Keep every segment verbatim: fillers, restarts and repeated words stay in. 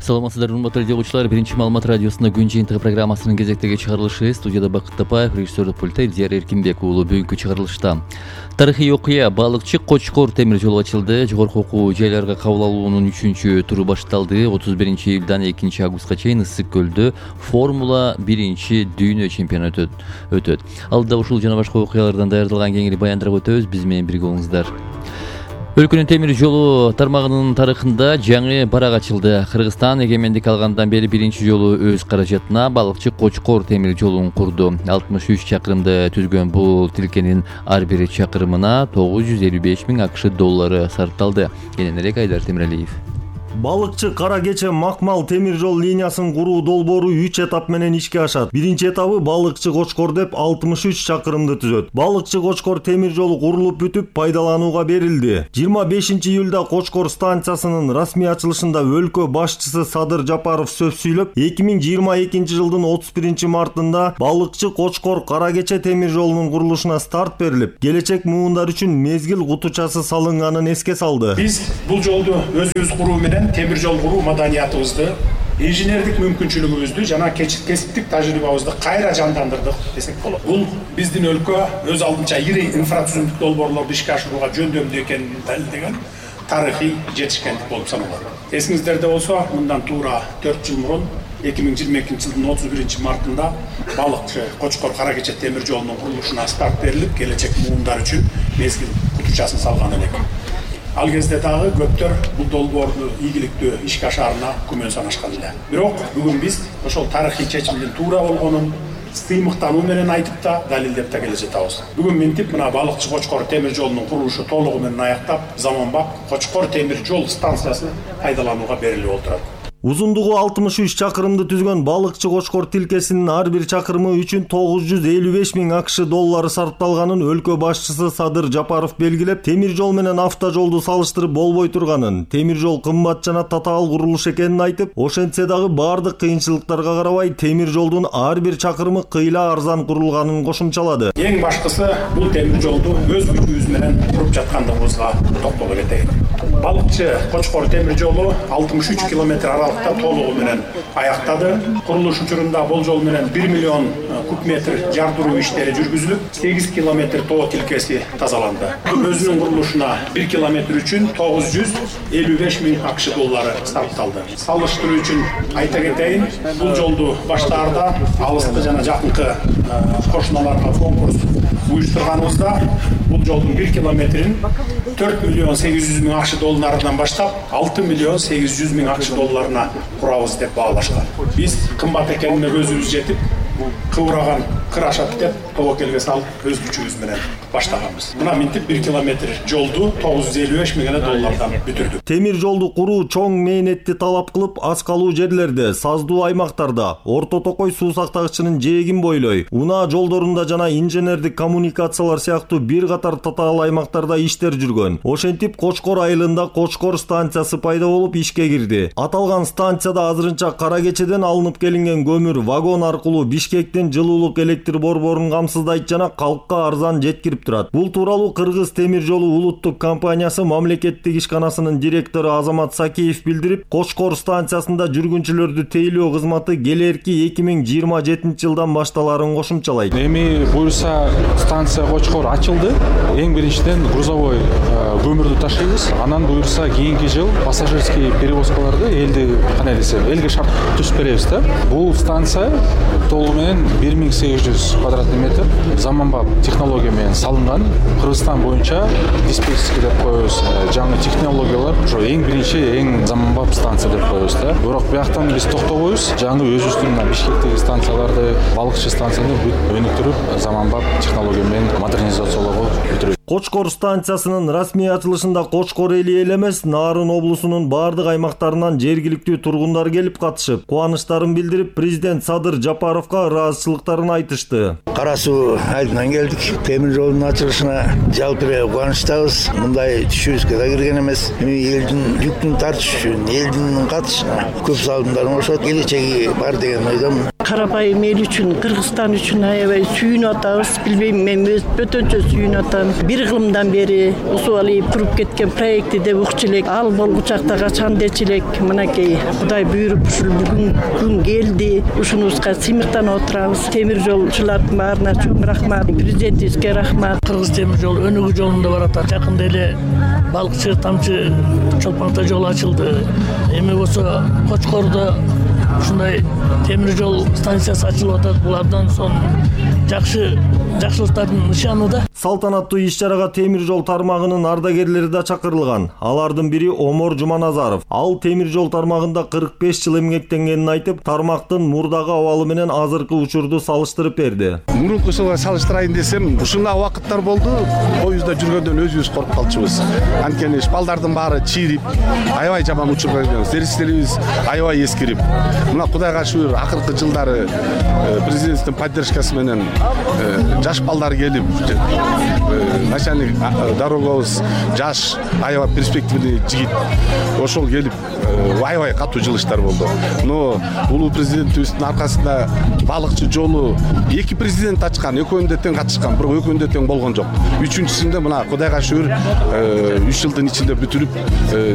Саламатсыздар, урматтуу радио угуучулар. Биринчи маалымат радиосунда күн жыйынтыгы программасынын кезектеги чыгарылышы. Студияда Бакыт Тапаев, режиссердик пультта Илдияр Эркинбек уулу. Бүгүнкү чыгарылышта тарыхый окуя балыкчы Кочкор темир жолу ачылды. Жогорку окуу жайларга кабыл алуунун үчүнчү туру башталды. отуз биринчи июлдан экинчи августка чейин Ысык көлдө Формула биринчи дүйнө чемпионаты өтөт. Алдыда ушул жана башка окуялардан даярдалган кеңири баяндырып өтөбүз. Биз менен бирге болуңуздар. Өлкөнүн темир жолу тармагынын тарыхында жаңы барак ачылды. Кыргызстан эгемендик алгандан бери биринчи жолу өз каражатына балыкчы Кочкор темир жолун курду. алтымыш үч чакырымды түзгөн бул тилкенин ар бир чакырымына тогуз жүз элүү беш миң АКШ доллары сарпталды. Кененирээк Айдар Темиралиев. Балыкчы Кара Кече Макмал темир жол линиясын куруу долбоору үч этап менен ишке ашат. Биринчи этабы Балыкчы Кочкор деп алтымыш үч чакырымды түзөт. Балыкчы Кочкор темир жолу курулуп бүтүп пайдаланууга берилди. жыйырма бешинчи июлда Кочкор станциясынын расмий ачылышында өлкө башчысы Садыр Жапаров сөз сүйлөп, эки миң жыйырма экинчи жылдын отуз биринчи мартында Балыкчы Кочкор Кара Кече темир жолунун курулушуна старт берилип, келечек муундар үчүн мезгил кутучасы салынганын эске салды. Биз бул жолду өзүбүз куруу менен темир жол куруу маданиятыбызды, инженердик мүмкүнчүлүгүбүздү жана кесиптик тажрыйбабызды кайра жандандырдык десек болот. Бул биздин өлкө өз алдынча ири инфраструктура долбоорлорду ишке ашырууга жөндөмдүү экенин далилдеген тарыхый жетишкендик болуп саналат. Эсиңиздерде болсо, мындан туура төрт жыл мурун эки миң жыйырма экинчи жылдын отуз биринчи мартында Балыкчы Кочкор Кара Кече темир жолунун курулушуна старт берилип, келечек муундар үчүн мезгил кутучасын салган элек. Ал кезде дагы көптөр бул долбоорду ийгиликтүү ишке ашаарына күмөн санашкан эле. Бирок бүгүн биз ошол тарыхый чечимдин туура болгонун сыймыктануу менен айтып да, далилдеп да келе жатабыз. Бүгүн минтип мына Балыкчы Кочкор темир жолунун курулушу толугу менен аяктап, заманбап Кочкор темир жол станциясы пайдаланууга берилип отурат. Узундугу алтымыш үч чакырымды түзгөн Балыкчы Кочкор тилкесинин ар бир чакырымы үчүн тогуз жүз элүү беш миң АКШ доллары сарпталганын өлкө башчысы Садыр Жапаров белгилеп, темир жол менен автожолду салыштырып болбой турганын, темир жол кымбат жана татаал курулуш экенин айтып, ошентсе дагы бардык кыйынчылыктарга карабай темир жолдун ар бир чакырымы кыйла арзан курулганын кошумчалады. Эң башкысы бул темир жолду өз күчүбүз менен куруп жаткандыгыбызга токтоло кетейин. Балыкчы Кочкор темир жолу алтымыш үч километр аралыкта толугу менен аяктады. Курулуш учурунда болжол менен бир миллион куб метр жардыруу иштери жүргүзүлүп, сегиз километр тоо тилкеси тазаланды. Өзүнүн курулушуна бир километр үчүн тогуз жүз элүү беш миң АКШ доллары сарпталды. Салыштыруу үчүн айта кетейин, бул жолду баштаарда алыскы жана жакынкы кошуналарга конкурс уюштурганыбызда бул жолдун бир километрин төрт миллион сегиз жүз миң АКШ долларынан баштап алты миллион сегиз жүз миң АКШ долларына курабыз деп баалашкан. Биз кымбат экенине көзүбүз жетип, кыбыраган кыр ашат деп тобокелге салып өз күчүбүз менен баштаганбыз. Мына минтип бир километр жолду тогуз жүз элүү беш миң доллардан бүтүрдүк. Темир жолду куруу чоң мээнетти талап кылып, аз калуу жерлерде, саздуу аймактарда, Орто Токой суу сактагычынын жээгин бойлой, унаа жолдорунда жана инженердик коммуникациялар сыяктуу бир катар татаал аймактарда иштер жүргөн. Ошентип Кочкор айылында Кочкор станциясы пайда болуп ишке кирди. Аталган станцияда азырынча Кара Кечеден алынып келинген көмүр вагон аркылуу Бишкектин жылуулук электр борборун камсыздайт жана калкка арзан жеткирип турат. Бул тууралуу Кыргыз темир жолу улуттук компаниясы мамлекеттик ишканасынын директору Азамат Сакеев билдирип, Кочкор станциясында жүргүнчүлөрдү тейлөө кызматы келерки эки миң жыйырма жетинчи жылдан башталарын кошумчалайт. Эми буюрса станция Кочкор ачылды. Эң биринчиден грузовой көмүрдү ташыйбыз. Анан буюрса кийинки жыл пассажирский перевозкаларды элди кандай десем, элге шарт түзүп беребиз да. Бул станция толугу менен бир миң сегиз жүз квадратный метр заманбап технология менен салынган. Кыргызстан боюнча диспетчерский деп коебуз. Жаңы технологиялар ошо эң биринчи, эң заманбап станция деп коебуз да. Бирок бияктан биз токтобойбуз. Жаңы өзүбүздүн Бишкектеги станцияларды, Балыкчы станцияны өнүктүрүп, заманбап технология менен модернизациялоого бүтүрөбүз. Кочкор станциясынын расмий ачылышында Кочкор эли эле эмес, Нарын облусунун бардык аймактарынан жергиликтүү тургундар келип катышып, кубанычтарын билдирип, президент Садыр Жапаровго ыраазычылыктарын айтышты. Кара суу айылынан келдик. Темир жолдун ачылышына жалпы эле кубанычтабыз. Мындай түшүбүзгө да кирген эмес. Эми элдин жүктүн тартыш үчүн, элдин катышына көп салымдар кошот. Келечеги бар деген ойдомун. карабайым эл үчүн, Кыргызстан үчүн аябай сүйүнүп атабыз. Билбейм, мен өз бөтөнчө сүйүнүп атам. Бир кылымдан бери Усубали куруп кеткен проекти деп укчу элек, ал болгучакта качан дечи элек. Мынакей Кудай буйруп ушул бүгүн күн келди. Ушунубузга сыймыктанып отурабыз. Темир жолчулардын баарына чоң рахмат, президентибизге рахмат. Кыргыз темир жолу өнүгүү жолунда баратат. Жакында эле балыкчы тамчы чолпон ата жолу ачылды. Эми болсо Кочкордо ушундай темир жол станциясы ачылып атат. Булардан соң жакшы жакшылыктардын нышаны да. Салтанаттуу иш-чарага темир жол тармагынын ардагерлери да чакырылган. Алардын бири Омор Жуманазаров. Ал темир жол тармагында кырк беш жыл эмгектенгенин айтып, тармактын мурдагы абалы менен азыркы учурду салыштырып берди. Мурункусуга салыштырайын десем, ушундай убакыттар болду. Поездда жүргөндөн өзүбүз коркуп калчубуз. Анткени шпалдардын баары чийирип, аябай жаман учурга кирген. Сервистерибиз аябай эскирип. Мына Кудайга шүгүр, акыркы жылдары президенттин поддержкасы менен жаш балдар келип, начальник дорогабыз жаш, аябай перспективный жигит. Ошол келип аябай катуу жылыштар болду. Но улуу президентибиздин аркасында балыкчы жолу эки президент ачкан, экөөнү тең катышкан, бирок экөөнү тең болгон жок. Үчүнчүсүндө мына Кудайга шүгүр үч жылдын ичинде бүтүрүп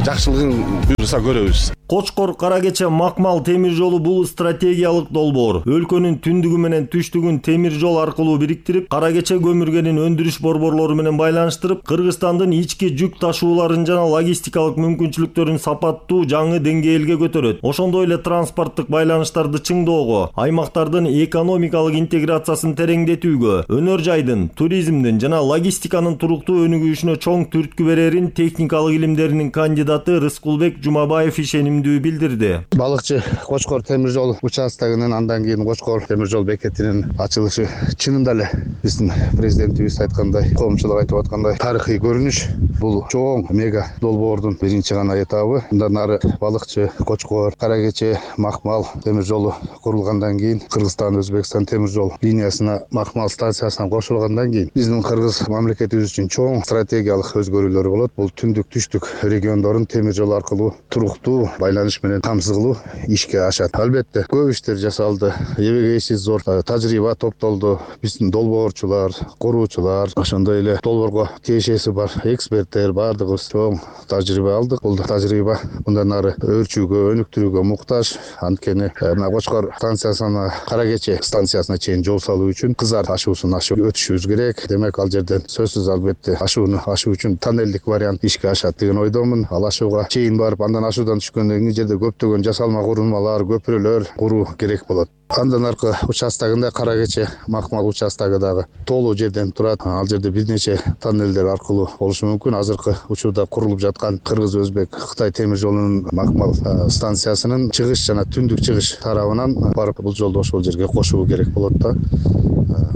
жакшылыгын буйруса көрөбүз. Кочкор Каракече Макмал темир жолу бул стратегиялык долбоор. Өлкөнүн түндүгү менен түштүгүн темир жол аркылуу бириктирип, Каракече көмүргенин өндүрүш борборлору менен байланыштырып, Кыргызстандын ички жүк ташууларын жана логистикалык мүмкүнчүлүктөрүн сапаттуу жаңы деңгээлге көтөрөт. Ошондой эле транспорттук байланыштарды чыңдоого, аймактардын экономикалык интеграциясын тереңдетүүгө, өнөр жайдын, туризмдин жана логистиканын туруктуу өнүгүшүнө чоң түрткү берерин техникалык илимдеринин кандидаты Рыскулбек Жумабаев ишеним билдирди. Балыкчы Кочкор темир жол участогунун андан кийин Кочкор темир жол бекетинин ачылышы чынында эле биздин президентибиз айткандай, коомчулук айтып аткандай тарыхый көрүнүш. Бул чоң мега долбоордун биринчи гана этабы. Мындан ары Балыкчы Кочкор Каракече Макмал темир жолу курулгандан кийин, Кыргызстан Өзбекстан темир жол линиясына Макмал станциясына кошулгандан кийин биздин Кыргыз мамлекетибиз үчүн чоң стратегиялык өзгөрүүлөр болот. Бул түндүк түштүк региондорун темир жол аркылуу туруктуу байланыш менен камсыздуу ишке ашат. Албетте көп иштер жасалды. Эбегейсиз зор тажрыйба топтолду. Биздин долбоорчулар, куруучулар, ошондой эле долбоорго тиешеси бар эксперттер бардыгыбыз чоң тажрыйба алдык. Бул тажрыйба мындан ары өөрчүүгө, өнүктүрүүгө муктаж. Анткени мына Кочкор станциясына Каракече станциясына чейин жол салуу үчүн Кызар ашуусун ашып өтүшүбүз керек. Демек ал жерден сөзсүз албетте ашууну ашуу үчүн тоннелдик вариант ишке ашат деген ойдомун. Ал ашууга чейин барып, андан ашуудан түшкөндөн кийин жерде көптөгөн жасалма курулмалар, көпүрөлөр куруу керек болот. Андан аркы участогунда Каракече Макмал участогу дагы толуу жерден турат. Ал жерде бир нече тоннелдер аркылуу болушу мүмкүн. Азыркы учурда курулуп жаткан Кыргыз Өзбек Кытай темир жолунун Макмал станциясынын чыгыш жана түндүк чыгыш тарабынан барып бул жолду ошол жерге кошуу керек болот да.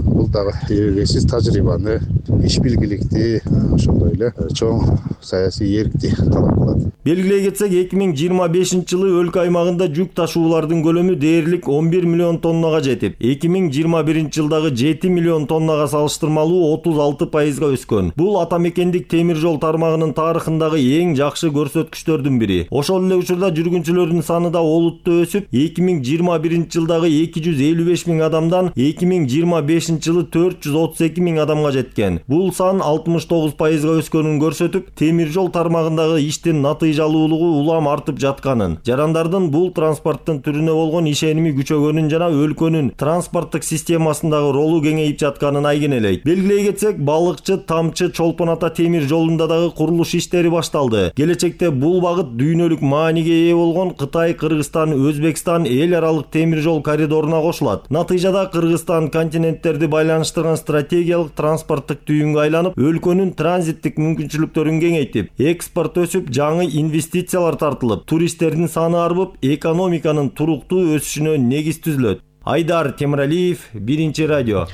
Бул дагы эбегейсиз тажрыйбаны, иш билгиликти, ошондой эле чоң саясий эркти талап кылат. Белгилей кетсек, эки миң жыйырма бешинчи жылы өлкө аймагында жүк ташуулардын көлөмү дээрлик он бир миллион тоннага жетип, эки миң жыйырма биринчи жылдагы жети миллион тоннага салыштырмалуу отуз алты пайызга өскөн. Бул ата мекендик темир жол тармагынын тарыхындагы эң жакшы көрсөткүчтөрдүн бири. Ошол эле учурда жүргүнчүлөрдүн саны да олуттуу өсүп, эки миң жыйырма биринчи жылдагы эки жүз элүү беш миң адамдан эки миң жыйырма бешинчи жылы төрт жүз отуз эки миң адамга жеткен. Бул сан алтымыш тогуз пайызга өскөнүн көрсөтүп, темир жол тармагындагы иштин натыйжалуулугу улам артып жатканын, жарандардын бул транспорттун түрүнө болгон ишеними күчөгөнүн жана өлкөнүн транспорттук системасындагы ролу кеңейип жатканын айгинелейт. Белгилей кетсек, Балыкчы Тамчы Чолпон Ата темир жолунда дагы курулуш иштери башталды. Келечекте бул багыт дүйнөлүк мааниге ээ болгон Кытай, Кыргызстан, Өзбекстан эл аралык темир жол коридоруна кошулат. Натыйжада Кыргызстан континенттерди байланыштырган стратегиялык транспорттук түйүнгө айланып, өлкөнүн транзиттик мүмкүнчүлүктөрүн кеңейтип, экспорт өсүп, жаңы инвестициялар тартылып, туристтердин саны арбып, экономиканын туруктуу өсүшүнө негиз түзүлөт. Айдар Темиралиев, Биринчи радио.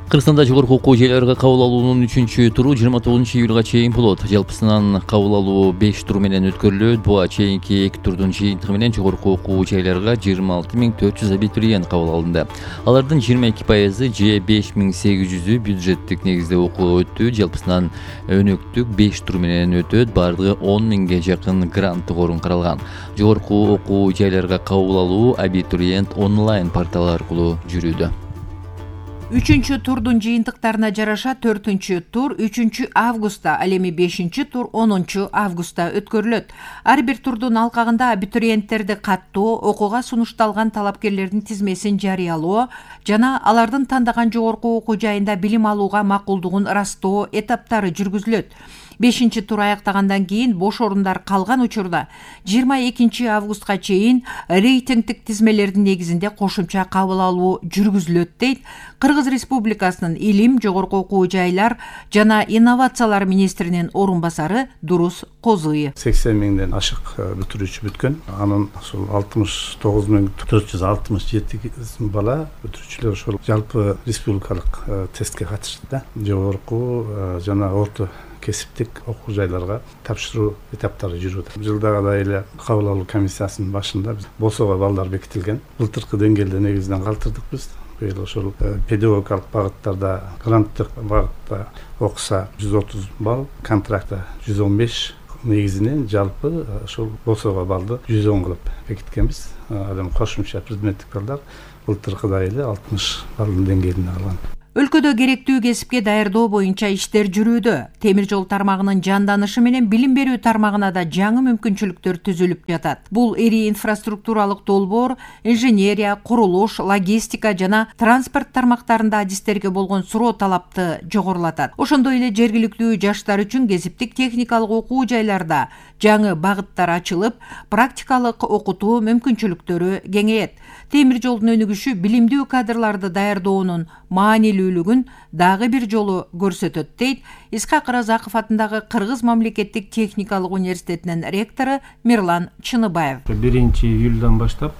Кыргызстанда жогорку окуу жайларга кабыл алуунун үчүнчү туру жыйырма тогузунчу июлга чейин болот. Жалпысынан кабыл алуу беш тур менен өткөрүлөт. Буга чейинки эки турдун жыйынтыгы менен жогорку окуу жайларга жыйырма алты миң төрт жүз абитуриент кабыл алынды. Алардын жыйырма эки пайызы же беш миң сегиз жүзү бюджеттик негизде окуу өттү. Жалпысынан өнөктүк беш тур менен өтөт. Бардыгы он миңге жакын гранттык орун каралган. Жогорку окуу жайларга кабыл алуу абитуриент онлайн порталы аркылуу жүрүүдө. Үчүнчү турдун жыйынтыктарына жараша төртүнчү тур үчүнчү августта, ал эми бешинчи тур онунчу августта өткөрүлөт. Ар бир турдун алкагында абитуриенттерди каттоо, окууга сунушталган талапкерлердин тизмесин жарыялоо жана алардын тандаган жогорку окуу жайында билим алууга макулдугун ырастоо этаптары жүргүзүлөт. бешинчи тур аяктагандан кийин бош орундар калган учурда жыйырма экинчи августка чейин рейтингдик тизмелердин негизинде кошумча кабыл алуу жүргүзүлөт дейт Кыргыз Республикасынын илим, жогорку окуу жайлар жана инновациялар министринин орун басары Дурус Козуев. сексен миңден ашык бүтүрүүчү бүткөн. Анын ушул алтымыш тогуз миң төрт жүз алтымыш жети бала бүтүрүүчүлөр ошол жалпы республикалык тестке катышты да. Жогорку жана орто кесиптик окуу жайларга тапшыруу этаптары жүрүүдө. Жылдагыдай эле кабыл алуу комиссиясынын башында биз босого балдар бекитилген. Былтыркы деңгээлде негизинен калтырдык биз. Быйыл ошол педагогикалык багыттарда, гранттык багытта окуса жүз отуз балл, контрактта жүз он беш, негизинен жалпы ошол босого балды жүз он кылып бекиткенбиз. Ал эми кошумча предметтик балдар былтыркыдай эле алтымыш балдын деңгээлине алган. Өлкөдө керектүү кесипке даярдоо боюнча иштер жүрүүдө. Темир жол тармагынын жанданышы менен билим берүү тармагына да жаңы мүмкүнчүлүктөр түзүлүп жатат. Бул эри инфраструктуралык долбоор, инженерия, курулуш, логистика жана транспорт тармактарында адистерге болгон суроо талапты жогорулатат. Ошондой эле жергиликтүү жаштар үчүн кесиптик техникалык окуу жайларда жаңы багыттар ачылып, практикалык окутуу мүмкүнчүлүктөрү кеңейет. Темир жолдун өнүгүшү билимдүү кадрларды даярдоонун маанилүүлүгүн дагы бир жолу көрсөтөт дейт Исхак Разаков атындагы Кыргыз мамлекеттик техникалык университетинин ректору Мирлан Чыныбаев. биринчи июлдан баштап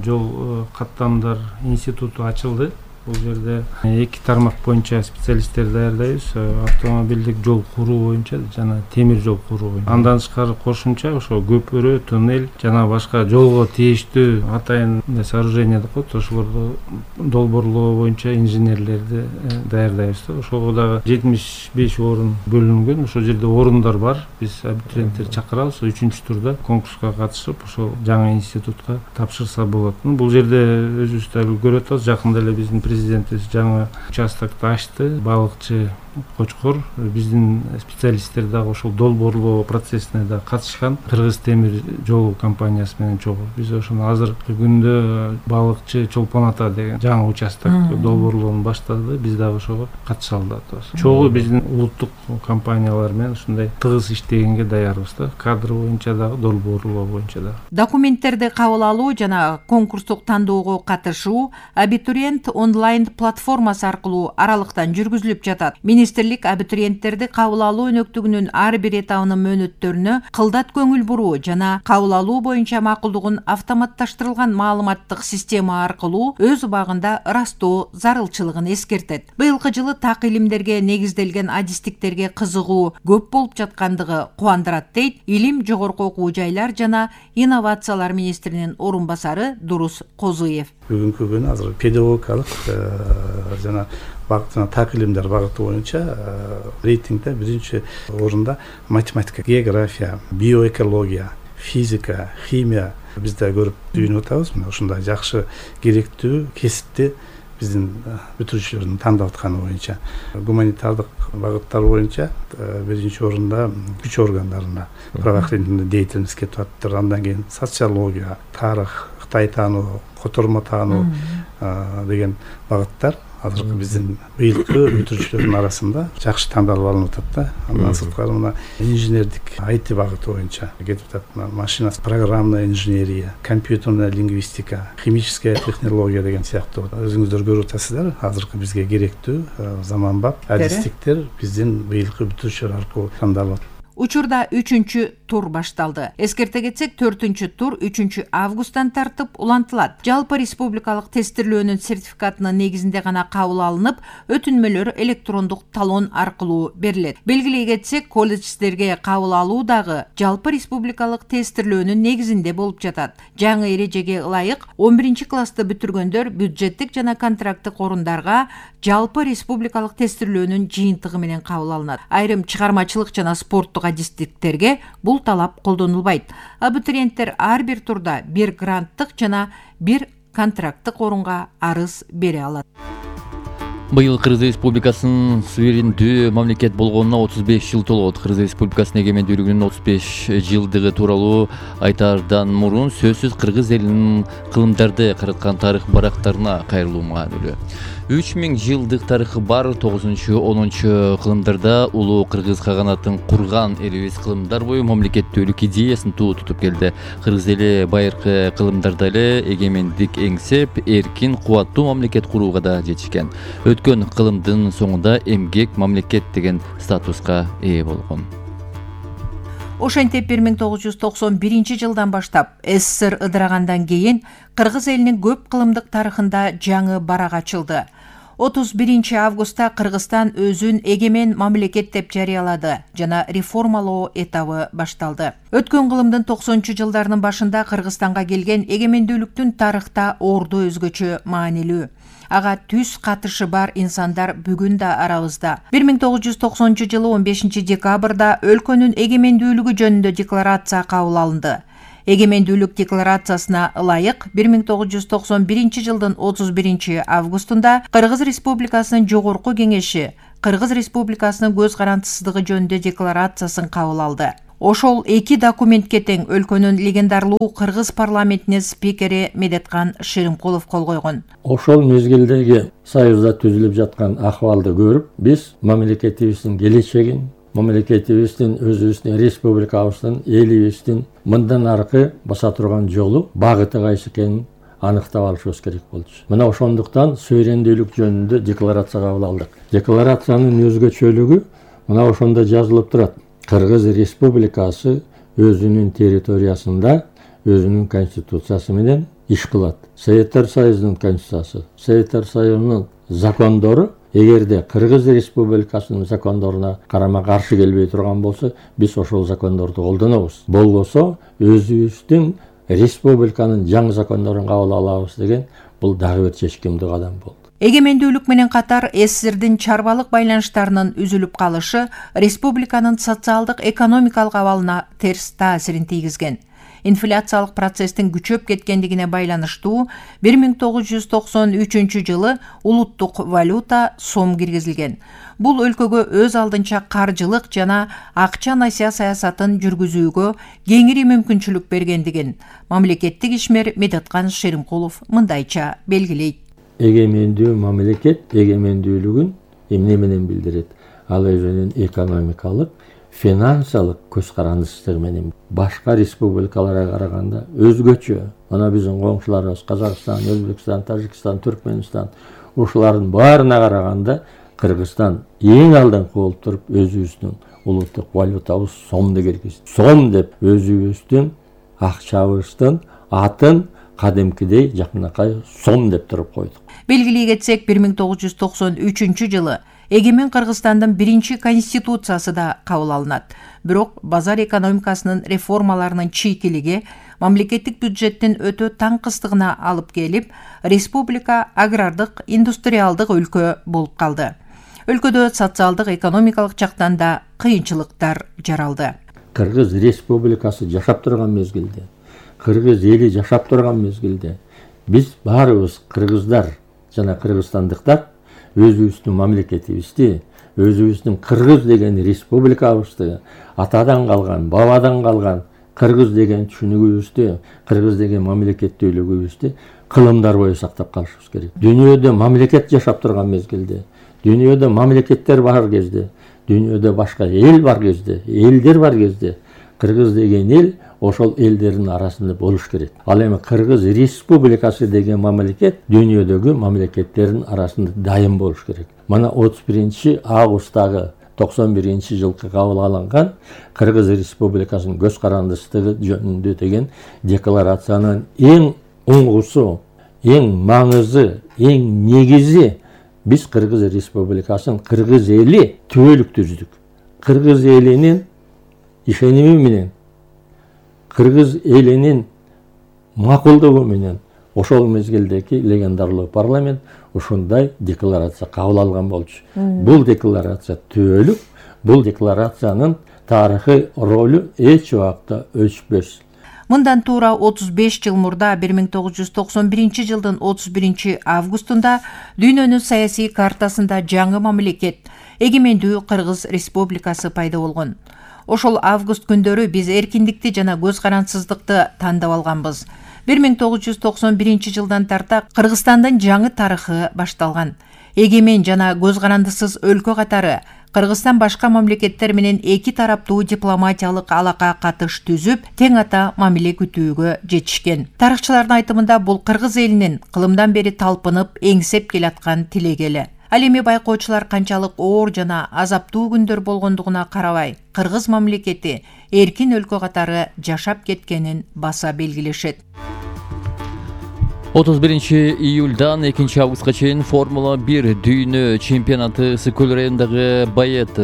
жол каттамдар институту ачылды. Бул жерде эки тармак боюнча специалисттер даярдайбыз. Автомобилдик жол куруу боюнча жана темир жол куруу боюнча. Андан тышкары кошумча ошо көпүрө, туннель жана башка жолго тийиштүү атайын сооружение деп коет. Ошолорду долбоорлоо боюнча инженерлерди даярдайбыз. Ошого дагы жетимиш беш орун бөлүнгөн. Ошол жерде орундар бар. Биз абитуриенттерди чакырабыз. үчүнчү турда конкурска катышып, ошол жаңы институтка тапшырса болот. Бул жерде өзүбүз да көрүп атабыз. Жакында эле биздин президентибиз жаңы участокты ачты. Балыкчы Кочкор биздин специалисттер дагы ошол долбоорлоо процессине да катышкан. Кыргыз темир жол компаниясы менен чогуу. Биз ошону азыркы күндө Балыкчы Чолпон ата деген жаңы участок долбоорлоону баштады. Биз дагы ошого катыша алабыз. Чогуу биздин улуттук компаниялар менен ушундай тыгыз иштегенге даярбыз да. Кадр боюнча дагы, долбоорлоо боюнча дагы. Документтерди кабыл алуу жана конкурстук тандоого катышуу абитуриент онлайн платформасы аркылуу аралыктан жүргүзүлүп жатат. Министрлик абитуриенттерди кабыл алуу өнөктүгүнүн ар бир этабынын мөөнөттөрүнө кылдат көңүл буруу жана кабыл алуу боюнча макулдугун автоматташтырылган маалыматтык система аркылуу өз убагында ырастоо зарылчылыгын эскертет. Быйылкы жылы так илимдерге негизделген адистиктерге кызыгуу көп болуп жаткандыгы кубандырат дейт Илим, жогорку окуу жайлар жана инновациялар министринин орун басары Дурус Козуев. Бүгүнкү күнү азыр педагогикалык жана багыт так илимдер багыты боюнча рейтингде биринчи орунда математика, география, биоэкология, физика, химия бизде көрүп түйүнүп атабыз. Ушундай жакшы керектүү кесипти биздин бүтүрүүчүлөрдүн тандап атканы боюнча. Гуманитардык багыттар боюнча биринчи орунда күч органдарына правоохранительный деятельность кетип атыптыр. Андан кийин социология, тарых, Кытай таануу, котормо таануу деген багыттар азыркы биздин быйылкы бүтүрүүчүлөрдүн арасында жакшы тандалып алынып атат да. Андан сырткары мына инженердик ай ти багыты боюнча кетип атат. Машина, программная инженерия, компьютерная лингвистика, химическая технология деген сыяктуу өзүңүздөр көрүп атасыздар. Азыркы бизге керектүү заманбап адистиктер биздин быйылкы бүтүрүүчүлөр аркылуу тандалып. Учурда үчүнчү тур башталды. Эскерте кетсек, төртүнчү тур үчүнчү августтан тартып улантылат. Жалпы республикалык тестирлөөнүн сертификатынын негизинде гана кабыл алынып, өтүнмөлөр электрондук талон аркылуу берилет. Белгилей кетсек, колледждерге кабыл алуу дагы жалпы республикалык тестирлөөнүн негизинде болуп жатат. Жаңы эрежеге ылайык он биринчи классты бүтүргөндөр бюджеттик жана контракттык орундарга жалпы республикалык тестирлөөнүн жыйынтыгы менен кабыл алынат. Айрым чыгармачылык жана спорттук адистиктерге бул талап колдонулбайт. Абитуриенттер ар бир турда бир гранттык жана бир контракттык орунга арыз бере алат. Быйыл Кыргыз Республикасынын суверендүү мамлекет болгонуна отуз беш жыл толот. Кыргыз Республикасынын эгемендүүлүгүнүн отуз беш жылдыгы тууралуу айтаардан мурун сөзсүз кыргыз элинин кылымдарды караткан тарых барактарына кайрылуу маанилүү. үч миң жылдык тарыхы бар тогузунчу онунчу кылымдарда улуу кыргыз каганатын курган элибиз кылымдар бою мамлекеттүүлүк идеясын туу тутуп келди. Кыргыз эли байыркы кылымдарда эле эгемендик эңсеп, эркин, кубаттуу мамлекет курууга да жетишкен. Өткөн кылымдын соңунда эмгек мамлекет деген статуска ээ болгон. Ошентип бир миң тогуз жүз токсон биринчи жылдан баштап СССР ыдырагандан кийин кыргыз элинин көп кылымдык тарыхында жаңы барак ачылды. отуз биринчи августта Кыргызстан өзүн эгемен мамлекет деп жарыялады жана реформалоо этабы башталды. Өткөн кылымдын токсонунчу жылдарынын башында Кыргызстанга келген эгемендүүлүктүн тарыхта орду өзгөчө маанилүү. Ага түз катышы бар инсандар бүгүн да арабызда. бир миң тогуз жүз токсонунчу жылы он бешинчи декабрда өлкөнүн эгемендүүлүгү жөнүндө декларация кабыл алынды. Эгемендүүлүк декларациясына ылайык бир миң тогуз жүз токсон биринчи жылдын отуз биринчи августунда Кыргыз Республикасынын жогорку кеңеши Кыргыз Республикасынын көз карандысыздыгы жөнүндө декларациясын кабыл алды. Ошол эки документке тең өлкөнүн легендарлуу кыргыз парламентинин спикери Медеткан Шеримкулов кол койгон. Ошол мезгилдеги Союзда түзүлүп жаткан акыбалды көрүп, биз мамлекетибиздин келечегин, мамлекетибиздин өзүбүздүн республикабыздын, элибиздин мындан аркы баса турган жолу, багыты кайсы экенин аныктап алышыбыз керек болчу. Мына ошондуктан суверендүүлүк жөнүндө декларация кабыл алдык. Декларациянын өзгөчөлүгү мына ошондо жазылып турат. Кыргыз Республикасы өзүнүн территориясында өзүнүн конституциясы менен иш кылат. Советтер Союзунун конституциясы, Советтер Союзунун закондору эгерде Кыргыз Республикасынын закондоруна карама каршы келбей турган болсо, биз ошол закондорду колдонобуз. Болбосо өзүбүздүн республиканын жаңы закондорун кабыл алабыз деген бул дагы бир чечкиндүү кадам болду. Эгемендүүлүк менен катар СССРдин чарбалык байланыштарынын үзүлүп калышы республиканын социалдык экономикалык абалына терс таасирин тийгизген. Инфляциялык процесстин күчөп кеткендигине байланыштуу бир миң тогуз жүз токсон үчүнчү жылы улуттук валюта сом киргизилген. Бул өлкөгө өз алдынча каржылык жана акча насыя саясатын жүргүзүүгө кеңири мүмкүнчүлүк бергендигин мамлекеттик ишмер Медеткан Шеримкулов мындайча белгилейт. Эгемендүү мамлекет эгемендүүлүгүн эмне менен билдирет? Ал өзүнүн экономикалык, финансылык көз карандысыздыгы менен башка республикаларга караганда өзгөчө. Ана биздин коңшуларыбыз Казакстан, Өзбекстан, Тажикстан, Түркмөнстан ушулардын баарына караганда Кыргызстан эң алдыңкы болуп туруп өзүбүздүн улуттук валютабыз сомду киргизди. Сом деп өзүбүздүн акчабыздын атын кадимкидей жакынакай сом деп туруп койдук. Белгилей кетсек, бир миң тогуз жүз токсон үчүнчү жылы эгемен Кыргызстандын биринчи конституциясы да кабыл алынат. Бирок базар экономикасынын реформаларынын чийкилиги мамлекеттик бюджеттин өтө таңкыстыгына алып келип, республика агрардык, индустриалдык өлкө болуп калды. Өлкөдө социалдык, экономикалык жактан да кыйынчылыктар жаралды. Кыргыз Республикасы жашап турган мезгилде, Кыргыз эли жашап турган мезгилде биз баарыбыз кыргыздар жана кыргызстандыктар өзүбүздүн мамлекетибизди, өзүбүздүн Кыргыз деген республикабызды, атадан калган, бабадан калган Кыргыз деген түшүнүгүбүздү, Кыргыз деген мамлекеттүүлүгүбүздү кылымдар бою сактап калышыбыз керек. Дүйнөдө мамлекет жашап турган мезгилде, дүйнөдө мамлекеттер бар кезде, дүйнөдө башка эл бар кезде, элдер бар кезде Кыргыз деген эл ошол элдердин арасында болуш керек. Ал эми Кыргыз Республикасы деген мамлекет дүйнөдөгү мамлекеттердин арасында дайым болуш керек. Мына отуз биринчи августтагы токсон биринчи жылкы кабыл алынган Кыргыз Республикасынын көз карандычтыгы жөнүндө деген декларациянын эң уңгусу, эң маңызы, эң негизи биз Кыргыз Республикасынын кыргыз эли түбөлүк түздүк. Кыргыз элинин ишеними менен, кыргыз элинин макулдугу менен ошол мезгилдеги легендарлуу парламент ушундай декларация кабыл алган болчу. Бул декларация түбөлүк, бул декларациянын тарыхый ролу эч убакта өчпөс. Мындан туура отуз беш жыл мурда бир миң тогуз жүз токсон биринчи жылдын отуз биринчи августунда дүйнөнүн саясий картасында жаңы мамлекет Эгемендүү Кыргыз Республикасы пайда болгон. Ошол август күндөрү биз эркиндикти жана көз карансыздыкты тандап алганбыз. бир миң тогуз жүз токсон биринчи жылдан тарта Кыргызстандын жаңы тарыхы башталган. Эгемен жана көз карандысыз өлкө катары Кыргызстан башка мамлекеттер менен эки тараптуу дипломатиялык алака катыш түзүп, тең ата мамиле күтүүгө жетишкен. Тарыхчылардын айтымында бул кыргыз элинин кылымдан бери талпынып, эңсеп келаткан тилеги эле. Ал эми байкоочулар канчалык оор жана азаптуу күндөр болгондугуна карабай, кыргыз мамлекети эркин өлкө катары жашап кеткенин баса белгилешет. отуз биринчи июльдан экинчи августка чейин Формула бир дүйнө чемпионаты Ысык-Көл районундагы Байет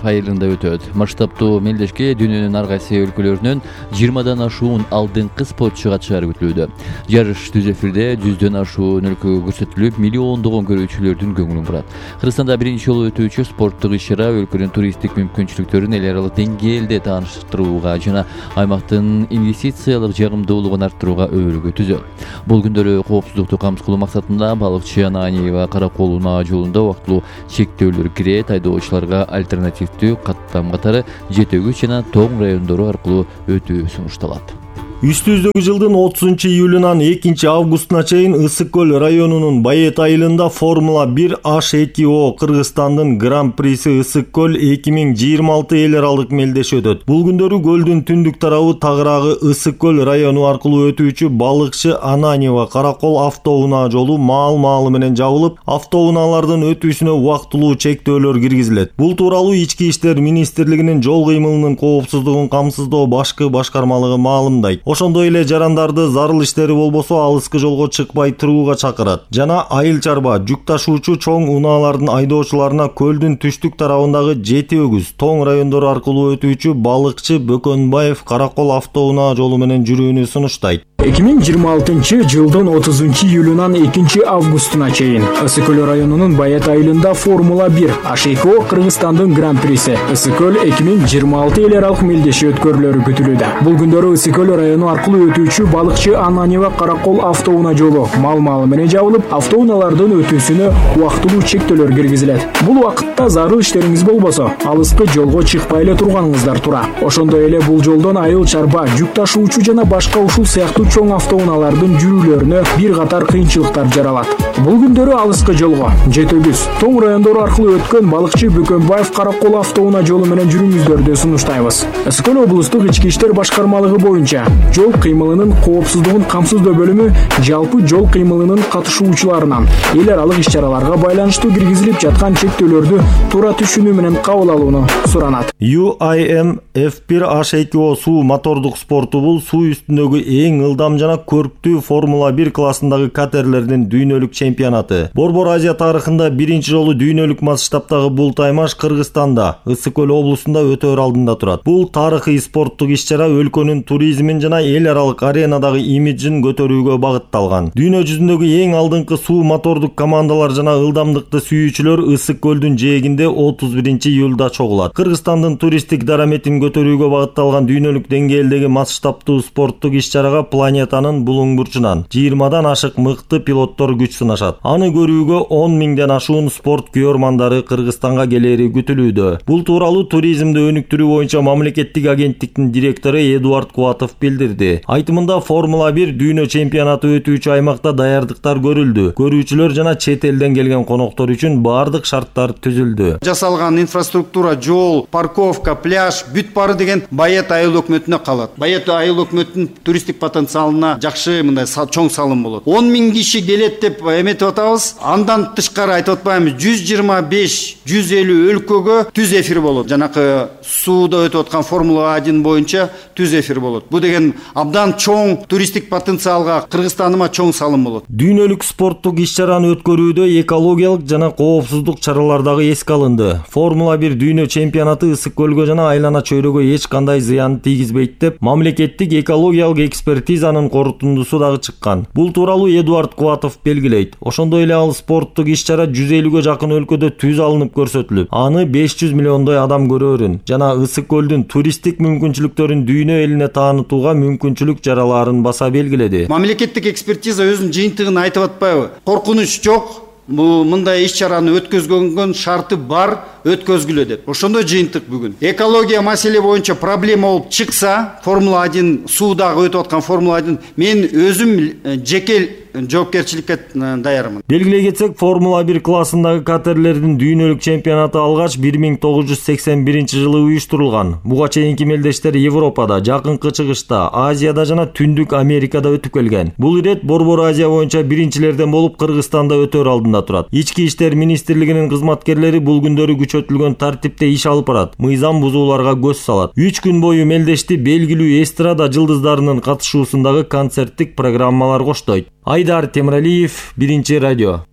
айылында өтөт. Масштабтуу мелдешке дүйнөнүн ар кайсы өлкөлөрүнөн жыйырмадан ашуун алдыңкы спортчу катышары күтүлүүдө. Жарыш түз эфирде жүздөн ашуун өлкөгө көрсөтүлүп, миллиондогон көрүүчүлөрдүн көңүлүн бурат. Кыргызстанда биринчи жолу өтүүчү спорттук иш-чара өлкөнүн туристтик мүмкүнчүлүктөрүн эл аралык деңгээлде тааныштырууга жана аймактын инвестициялык жагымдуулугун арттырууга өбөлгө түзөт. Бул коопсуздукту камсыз кылуу максатында балыкчы Ананиева Каракол унаа жолунда убактылуу чектөөлөр кирет, айдоочуларга альтернативдүү каттам катары Жетөгүч жана Тоң райондору аркылуу өтүү сунушталат. Үстүбүздөгү жылдын отузунчу июлунан экинчи августуна чейин Ысык-Көл районунун Байет айылында Формула бир H эки O Кыргызстандын гран-приси Ысык-Көл эки миң жыйырма алты эл аралык мелдеши өтөт. Бул күндөрү көлдүн түндүк тарабы тагыраагы Ысык-Көл району аркылуу өтүүчү балыкчы Ананиева Каракол автоунаа жолу маал-маалы менен жабылып, автоунаалардын өтүүсүнө убактылуу чектөөлөр киргизилет. Бул тууралуу Ички иштер министрлигинин жол кыймылынын коопсуздугун камсыздоо башкы башкармалыгы маалымдайт. Ошондой эле жарандарды зарыл иштери болбосо алыскы жолго чыкпай турууга чакырат. Жана айыл чарба жүк ташуучу чоң унаалардын айдоочуларына көлдүн түштүк тарабындагы Жети Өгүз, Тоң райондору аркылуу өтүүчү балыкчы Бөкөнбаев Каракол автоунаа жолу менен жүрүүнү сунуштайт. эки миң жыйырма алтынчы жылдын отузунчу июлунан экинчи августуна чейин Ысык-Көл районунун Байет айылында Формула бир H эки O Кыргызстандын гран-приси Ысык-Көл эки миң жыйырма алты эл аралык мелдеши өткөрүлөрү күтүлүүдө. Бул күндөрү Ысык-Көл району аркылуу өтүүчү балыкчы Ананиева Каракол автоунаа жолу маал-маалы менен жабылып, автоунаалардын өтүүсүнө убактылуу чектөөлөр киргизилет. Бул убакытта зарыл иштериңиз болбосо, алыскы жолго чыкпай эле турганыңыздар тура. Ошондой эле бул жолдон айыл чарба, жүк ташуучу жана башка ушул сыяктуу чоң автоунаалардын жүрүүлөрүнө бир катар кыйынчылыктар жаралат. Бул күндөрү алыскы жолго Жети Өгүз, Тоң райондору аркылуу өткөн балыкчы Бөкөнбаев Каракол автоунаа жолу менен жүрүүңүздөрдү сунуштайбыз. Ысык-Көл облустук ички иштер башкармалыгы боюнча жол кыймылынын коопсуздугун камсыздоо бөлүмү жалпы жол кыймылынын катышуучуларынан эл аралык иш-чараларга байланыштуу киргизилип жаткан чектөөлөрдү туура түшүнүү менен кабыл алууну суранат. U I M F бир H эки O суу мотордук спорту бул суу үстүндөгү эң ылдам жана көрктүү Формула бир классындагы катерлердин дүйнөлүк чемпионаты. Борбор Азия тарыхында биринчи жолу дүйнөлүк масштабтагы бул таймаш Кыргызстанда, Ысык-Көл облусунда өтөр алдында турат. Бул тарыхый спорттук иш-чара өлкөнүн туризмин жана эл аралык аренадагы имиджин көтөрүүгө багытталган. Дүйнө жүзүндөгү эң алдыңкы суу мотордук командалар жана ылдамдыкты сүйүүчүлөр Ысык-Көлдүн жээгинде отуз биринчи июлда чогулат. Кыргызстандын туристтик дараметин көтөрүүгө багытталган дүйнөлүк деңгээлдеги масштабтуу спорттук иш-чарага планетанын булуң бурчунан жыйырмадан ашык мыкты пилоттор күч сынашат. Аны көрүүгө он миңден ашуун спорт күйөрмандары Кыргызстанга келери күтүлүүдө. Бул тууралуу туризмди өнүктүрүү боюнча мамлекеттик агенттиктин директору Эдуард Кубатов билдирди. берди. Айтымында Формула бир дүйнө чемпионаты өтүүчү аймакта даярдыктар көрүлдү. Көрүүчүлөр жана чет элден келген коноктор үчүн баардык шарттар түзүлдү. Жасалган инфраструктура, жол, парковка, пляж бүт баары деген Байет айыл өкмөтүнө калат. Байет айыл өкмөтүнүн туристтик потенциалына жакшы мындай чоң салым болот. он миң киши келет деп эметип атабыз. Андан тышкары айтып атпаймынбы, жүз жыйырма беш жүз элүү өлкөгө түз эфир болот. Жанакы сууда өтүп аткан Формула один боюнча түз эфир болот. Бул деген абдан чоң туристтик потенциалга, Кыргызстаныма чоң салым болот. Дүйнөлүк спорттук иш-чараны өткөрүүдө экологиялык жана коопсуздук чаралар дагы эске алынды. Формула бир дүйнө чемпионаты ысык көлгө жана айлана чөйрөгө эч кандай зыян тийгизбейт деп мамлекеттик экологиялык экспертизанын корутундусу дагы чыккан. Бул тууралуу Эдуард Кубатов белгилейт. Ошондой эле ал спорттук иш-чара жүз элүүгө жакын өлкөдө түз алынып көрсөтүлүп, аны беш жүз миллиондой адам көрөөрүн жана ысык көлдүн туристтик мүмкүнчүлүктөрүн дүйнө элине таанытууга мүмкүнчүлүк жаралаарын баса белгиледи. Мамлекеттик экспертиза өзүнүн жыйынтыгын айтып атпайбы? Коркунуч жок. Бул мындай иш-чараны өткөзгөнгөн шарты бар, өткөзгүлө деп. Ошондой жыйынтык бүгүн. Экология маселе боюнча проблема болуп чыкса, Формула один суудагы өтүп аткан Формула один мен өзүм жеке жоопкерчиликке даярмын. Белгилей кетсек, Формула бир классындагы катерлердин дүйнөлүк чемпионаты алгач бир миң тогуз жүз сексен биринчи жылы уюштурулган. Буга чейинки мелдештер Европада, Жакынкы Чыгышта, Азияда жана Түндүк Америкада өтүп келген. Бул ирет Борбор Азия боюнча биринчилерден болуп Кыргызстанда өтөр алдында турат. Ички иштер министрлигинин кызматкерлери бул күндөрү күчөтүлгөн тартипте иш алып барат, мыйзам бузууларга көз салат. үч күн бою мелдешти белгилүү эстрада жылдыздарынын катышуусундагы концерттик программалар коштойт. Айдар Темиралиев, Биринчи радио.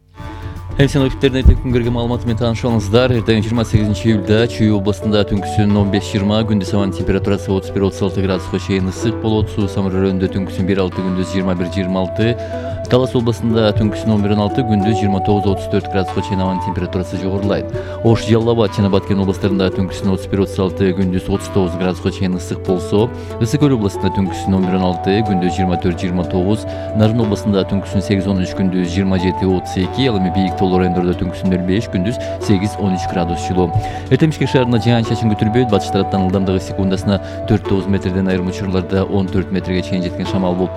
Элсен өкүттерин эртең күнгөргө маалымат менен таанышып алыңыздар. Эртең жыйырма сегизинчи июлда Чүй областында түнкүсүн он беш жыйырма, күндүз абанын температурасы отуз бир отуз алты градуска чейин ысык болот. Суу Самыр районунда түнкүсүн бир алты, күндүз жыйырма бир жыйырма алты. Талас областында түнкүсүн он бир он алты, күндүз жыйырма тогуз отуз төрт градуска чейин абанын температурасы жогорулайт. Ош, Жалал Абад жана Баткен областарында түнкүсүн отуз бир отуз алты, күндүз отуз тогуз градуска чейин ысык болсо, Ысык Көл областында түнкүсүн он бир он алты, күндүз жыйырма төрт жыйырма тогуз, Нарын областында түнкүсүн сегиз он үч, күндүз жыйырма жети отуз эки, ал эми бийик тоолор райондордо түнкүсүн нөл беш, күндүз сегиз он үч градус жылуу. Эртең Бишкек шаарында жаан-чачын күтүлбөйт. Батыш тараптан ылдамдыгы секундасына төрт тогуз метрден, айрым учурларда он төрт метрге чейин жеткен шамал болуп